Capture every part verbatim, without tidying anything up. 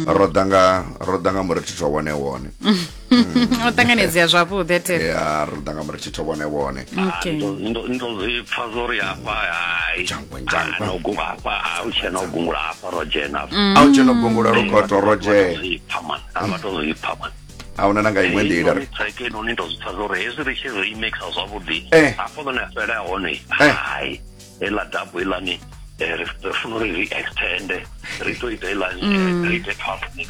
Ro ḓa nga ro ḓa nga murithitho wone wone. O ṱanganedzea zwavhuḓi ate. Ya, ro ḓa nga murithitho wone wone. Okay. Ndo ndo zwi pfa zwo ri hafha, hai. Jangwe, jangwe. No gungula hafha, a u tshena u gungula hafha, ro dzhena hafha. A u tshena u gungula, Lukoto, ro dzhena. Zwi pfa man, a vha to zwi pfa man. A huna na nga iṅwe nḓila ri Track ino ni ndo zwi pfa zwo ri hezwi ri tshi remixa zwavhuḓi Eh. hafho ḽone a fhela hone. Eh. Hai, heiḽa dub iḽani, eh, ri ri funa uri ri extende, ri to ita iḽani, eh, ri ite twelve mix.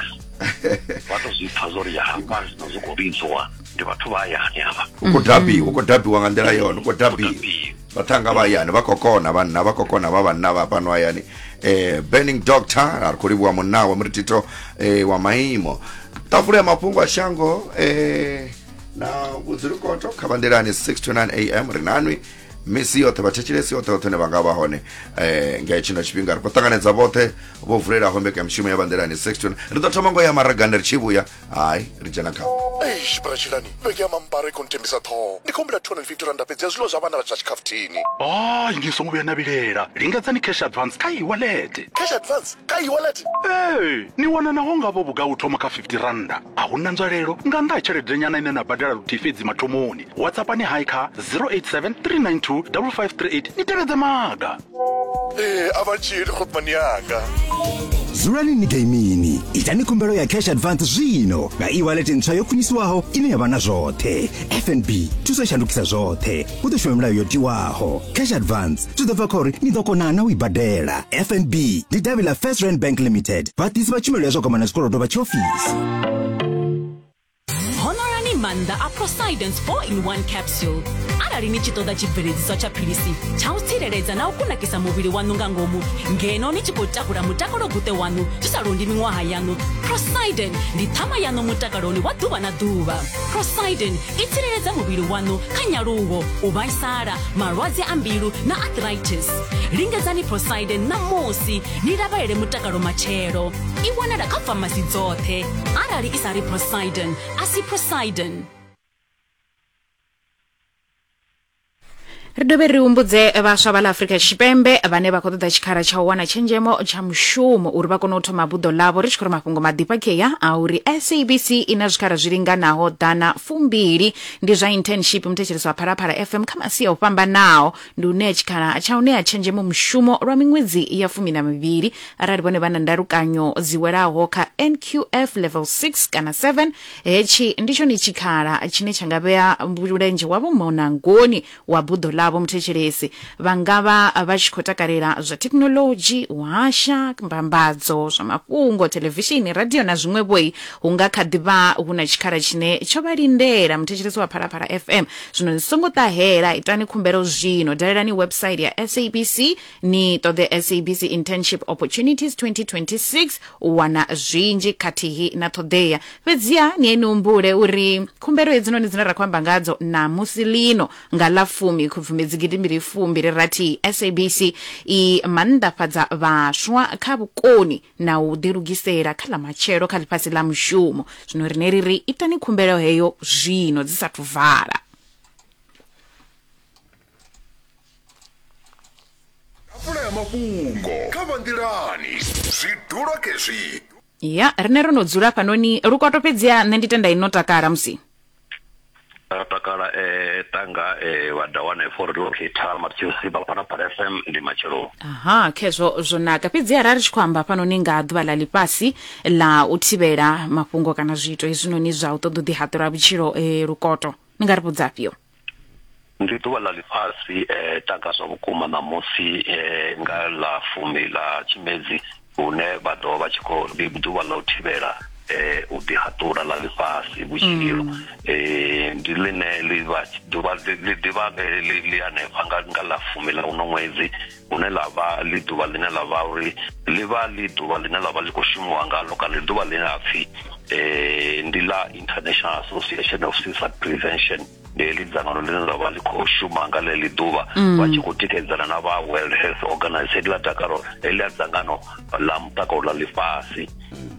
Vha to zwi pfa zwo ri hafha zwino zwi khou lidziwa ndi vhathu vha hayani havha. U khou dabiwa, u khou dabiwa nga nḓila yone, u khou dabiwa. Vhaṱhanga vha hayani vha khou kona, vhanna vha khou kona, vha vhanna vha fhano hayani. eh Burning Doctor, a ri khou livhuwa munna wa muritito eh wa maimo. Ṱafula ya mafhungo a shango eh na vhudzulukoto kha bandelani six to nine a m, ri nanwi misi yoṱhe, vhathetshelesi yoṱhe yoṱhe ne vha nga vha hone eh nga tshino tshifhinga. Ri khou ṱanganedza vhoṱhe vho vulelaho mbekanyamushumo ya bandelani six to nine. Ri ḓo thoma ngo ya maragani, ri tshi vhuya hai ri dzhena kha Eish, bratshilani, vhege ya mampara i khou nthembisa ṱhoho. Ndi khou humbela two hundred and fifty randa fhedzi ya zwiḽiwa zwa vhana vha zwa tshikhafuthini. Hayi, ni songo vhuya na vhilela, lingedzani cash advance kha e-wallet. Cash advance kha e-wallet? Ee, ni wana naho ngavho vhuga u thoma kha fifty randa. A huna nzwalelo nga nnḓa ha tshelede nyana ine na badela luthihi fhedzi mathomoni. WhatsAppani hai kha zero eight seven three nine two five five three eight, ni tevhedze maga. Ee, a vha dzhieli khotmani yanga. Dzulani ni gaimini, itani khumbelo ya cash advance zwino nga e-wallet ntswa yo khwiniswaho ine ya vha na zwoṱhe. F N B thuso i shandukisa zwoṱhe, hu ḓo shuma milayo yo tiwaho. Cash advance zwi ḓo bva kha uri ni ḓo kona na u i badela. F N B ndi davhi ḽa First Rand Bank Limited, vhaḓisi vha tshumelo ya zwa gwama na zwikolodo vha tshiofisi. Honorani maanḓa a Procidence four in one capsule. Arali ni tshi ṱoḓa tshibveledziswa tsha philisi tsha u tsireledza na u kunakisa muvhili waṋu nga ngomu ngeno ni tshi khou takula mutakalo guṱe waṋu zwi sa londi miṅwaha yaṋu, Prociden ndi ṱhama yaṋu mutakaloni wa ḓuvha na ḓuvha. Prociden i tsireledza muvhili waṋu kha nyaluwo, u vhaisala, malwadze a mbilu na arthritis. Lingedzani Prociden ṋamusi ni lavhelele mutakalo matshelo. I wanala kha famasi dzoṱhe. Arali i sa ri Prociden, a si Prociden. Ri dovhe ri humbudze vhaswa vha ḽa Afrika Tshipembe vhane vha khou ṱoḓa tshikhala tsha u wana tshenzhemo tsha mushumo uri vha kone u thoma buḓo ḽavho. Ri tshi khou ri mafhungo maḓifha kea a uri S A B C i na zwikhala zwi linganaho ḓana fumbili, ndi zwa internship, muthetshelesi wa Phalaphala F M, kha masia o fhambanaho. Ndi u ṋea tshikhala tsha u ṋea tshenzhemo mushumo lwa miṅwedzi ya fumi na mivhili arali vhone vha na ndalukanyo dzi welaho kha N Q F level six kana seven. Hetshi ndi tshone tshikhala tshine tsha nga vhea mulenzhe wavho munangoni wa buḓo ḽavho. Muthetshelesi, vha nga vha vha tshi khou takalela zwa thekhinoḽodzhi, u hasha, mbambadzo, zwa mafhungo, thelevishini, radio na zwiṅwe vhoi, hu nga kha ḓi vha hu na tshikhala tshine tsho vha lindela, muthetshelesi wa Phalaphala F M. Zwino ni songo ṱahela, itani khumbelo zwino. Dalelani website ya S A B C, ni ṱoḓe S A B C Internship Opportunities twenty twenty-six u wana zwinzhi khathihi na ṱhoḓea. Fhedziha ni ye ni humbule uri khumbelo hedzinoni dzine ra khou amba ngadzo namusi lino nga ḽa fumi Khubvumedzi gidimbili fumbili rathi, S A B C i mannḓafhadza vhaswa kha vhukoni na u ḓilugisela kha ḽa matshelo kha ḽifhasi ḽa mushumo. Zwino rine ri ri itani khumbelo heyo zwino dzi sathu vala. Tafula ya mafhungo kha Vhanḓilani, zwidulo kezwi. Ya, rine ro no dzula fhanoni, Lukoto, fhedziha nṋe ndi tenda ino takala musi. Ra takala, eh tanga eh vha dawane for locator Matthews vha Phalaphala F M, ndi matshelo. Aha, khezwo zwo naka. Fhedzi arali ri tshi khou amba fhanoni nga ḓuvha ḽa ḽifhasi ḽa u thivhela mafhungo kana zwiito hezwinoni zwa u ṱoḓa u ḓihaṱula vhutshilo, eh, Lukoto, ni nga ri vhudza afhio? Ndi ḓuvha ḽa ḽifhasi, eh tanga zwa vhukuma ṋamusi, eh nga ḽa fumi ḽa Tshimedzi, hune vha ḓo vha tshi khou, ndi ḓuvha ḽa u thivhela eh u ḓihaṱula ḽa ḽifhasi vhutshilo. eh ndi ḽine ḽi vha ḓuvha ḽi ḓivha ḽi ḽi hanefha nga nga ḽa fumi ḽa uno ṅwedzi, hune ḽa vha ḽi ḓuvha ḽine ḽa vha uri ḽi vha ḽi ḓuvha ḽine ḽa vha ḽi khou shumiwa ngalo, kana ḽi ḓuvha ḽine ḽa pfhi eh ndi ḽa International Association of Suicide Prevention. Ndi heḽi dzangano ḽine ḽa vha ḽi khou shuma nga ḽeḽi ḓuvha, vha tshi khou tikedzana na vha World Health Organization, ḽa dakalo heḽi dzangano ḽa mutakalo ḽa ḽifhasi.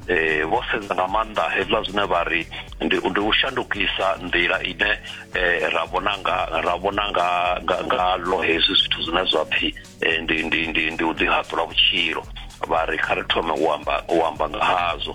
eh vho sedza nga maanḓa hezwiḽa zwine vha ri ndi ndi u shandukisa nḓila ine eh, ra vhona nga ra vhona nga nga ngalo hezwi zwithu zwine zwa pfhi eh, ndi ndi ndi ndi u ḓihaṱula vhutshilo. Vha ri kha ri thome u amba u amba nga hazwo.